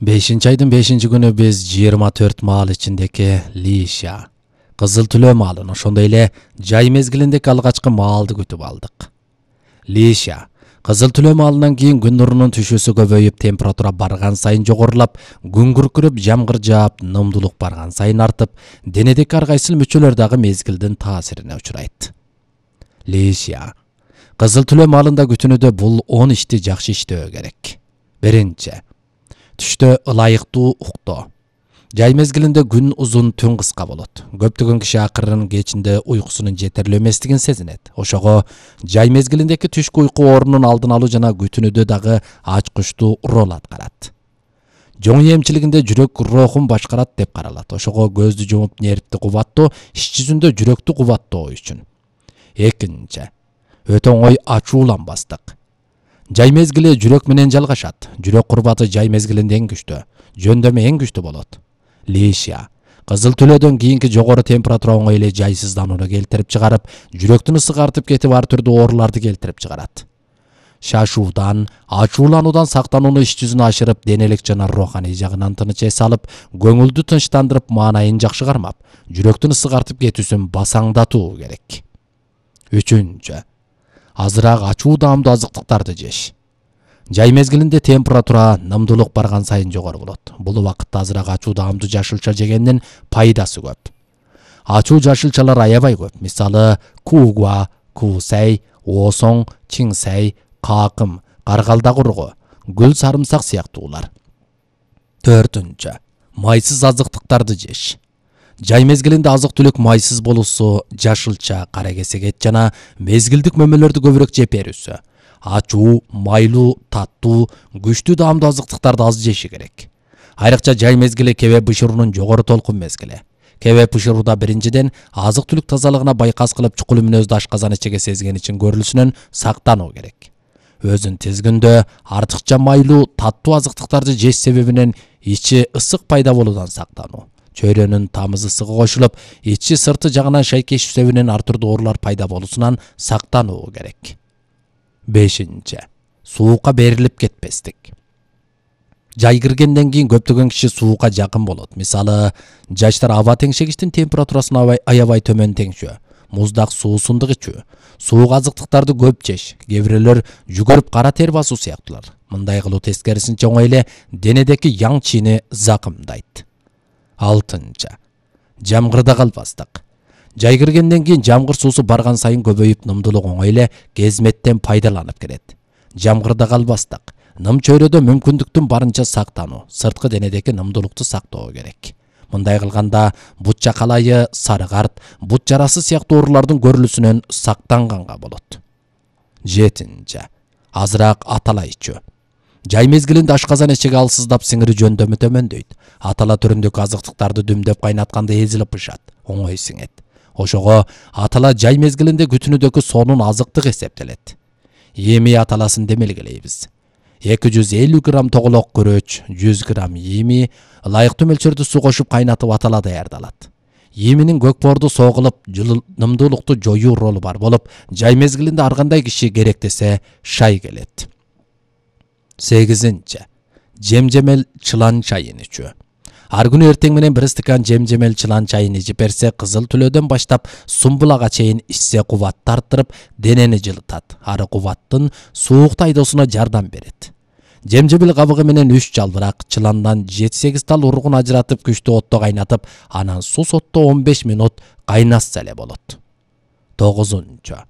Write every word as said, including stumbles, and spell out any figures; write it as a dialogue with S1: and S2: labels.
S1: бешинчи айдын бешинчи күнү биз жыйырма төрт маал ичиндеги Лиша, Кызыл Түлөө маалын, ошондой эле жай мезгилиндеги алгачкы маалды күтүп алдык. Лиша, Кызыл Түлөө маалынан кийин күн нурунун түшүүсү көбөйүп, температура барган сайын жогорулап, күн күркүрөп, жамгыр жаап, нымдуулук барган сайын артып, денедеги ар кайсыл мүчөлөр дагы мезгилдин таасирине учурайт. Лиша, Кызыл Түлөө маалында күтүүнүдө бул он ишти жакшы иштөө керек. Биринчи, түштө ылайыктуу уктоо. Жай мезгилинде күн узун, түн кыска болот. Көптөгөн киши акырын кечинде уйкусунун жетерлүү эместигин сезинет. Ошого жай мезгилиндеги түшкү уйку оорунун алдын алуу жана күтүүнүдө дагы ачкычтуу роль аткарат. Жоң эмчилигинде жүрөк рухун башкарат деп каралат. Ошого көздү жумуп нервти кубаттоо, иш жүзүндө жүрөктү кубаттоо үчүн. Экинчи, өтө оңой ачууланбастык. Жай мезгили жүрөк менен жалгашат. Жүрөк курбаты жай мезгилинде эң күчтүү, жөндөмө эң күчтүү болот. Лиша, Кызыл Түлөөдөн кийинки жогору температура оңой эле жайсызданууну келтирип чыгарып, жүрөктүн ысыгы артып кетип, ар түрдүү ооруларды келтирип чыгарат. Шашуудан, ачуулануудан сактанууну иш жүзүнө ашырып, денелик жана руханий жагынан тыныч эс алып, көңүлдү тынчтандырып, маанайын жакшы кармап, жүрөктүн ысыгы артып кетүүсүн басаңдатуу керек. Үчүнчү, азыраак ачуу даамдуу азыктыктарды жеш. Жай мезгилинде температура, нымдуулук барган сайын жогору болот. Бул убакытта азыраак ачуу даамдуу жашылча жегендин пайдасы көп. Ачуу жашылчалар аябай көп. Мисалы, куугуа, куусай, оосоң, чиңсай, какым, каргалдак ургу, гүл сарымсак сыяктуулар. Төртүнчү, майсыз азыктыктарды жеш. Жай мезгилинде азык-түлүк майсыз болуусу, жашылча, кара кесек эт жана мезгилдик мөмөлөрдү көбүрөөк жеп берүүсү. Ачуу, майлуу, таттуу, күчтүү даамдуу азыктыктарды аз жеши керек. Айрыкча жай мезгили кебе бышыруунун жогору толкун мезгили. Кебе бышырууда биринчиден азык-түлүк тазалыгына байкас кылып, чукул мүнөздү ашказан ичиге сезген үчүн көрүлүшүнөн сактануу керек. Өзүн тизгиндө артыкча майлуу, таттуу азыктыктарды жеш себебинен ичи ысык пайда болуудан сактануу. Чөйрөнүн тамыз ысыгы кошулуп, ичи сырты жагынан шайкешүү себебинен ар түрдүү оорулар пайда болуусунан сактануу керек. Бешинчи, суукка берилип кетпестик. Жай киргенден кийин көптөгөн киши суукка жакын болот. Мисалы, жаштар аба теңшегичтин температурасын аябай төмөн теңшөө, муздак суусундук ичүү, суук азыктыктарды көп жеш, кээ бирөөлөр жүгөрүп кара тер басуу сыяктуулар. Мындай кылуу тескерисинче оңой эле денедеги яң чийини закымдайт. Алтынчы, жамгырда калбастык. Жай киргенден кийин жамгыр суусу барган сайын көбөйүп, нымдуулук оңой эле кезметтен пайдаланып келет. Жамгырда калбастык. Ным чөйрөдө мүмкүндүктүн барынча сактануу, сырткы денедеги нымдуулукту сактоо керек. Мындай кылганда бут чакалайы, сары карт, бут жарасы сыяктуу оорулардын көрүлүүсүнөн сактанганга болот. Жетинчи, азыраак атала ичүү. Жай мезгилинде ашказан эчеги алсыздап, сиңири жөндөмү төмөндөйт. Атала түрүндөгү азыктыктарды дүмдөп кайнатканда эзилип бышат, оңой сиңет. Ошого атала жай мезгилинде күтүүнүдөгү сонун азыктык эсептелет. Эми аталасын демелгелейбиз. эки жүз элүү грамм тоголок күрөч, жүз грамм эми, ылайыктуу мөлчөрдө суу кошуп кайнатып атала даярдалат. Эминин көкпорду согулуп, нымдуулукту жоюу ролу бар болуп, жай мезгилинде ар кандай киши керектесе шай келет. Сегизинчи, жемжемел чылан чайын ичүү. Ар күнү эртең менен бир стакан жемжемел чылан чайын ичип берсе, Кызыл Түлөөдөн баштап сумбулага чейин ичсе кубатты арттырып, денени жылытат. Ары кубаттын суук айдоосуна жардам берет. Жемжемел кабыгы менен үч жалбырак, чыландан жети сегиз тал ургун ажыратып, күчтүү отто кайнатып, анан сус отто он беш мүнөт кайнатса эле болот. Тогузунчу,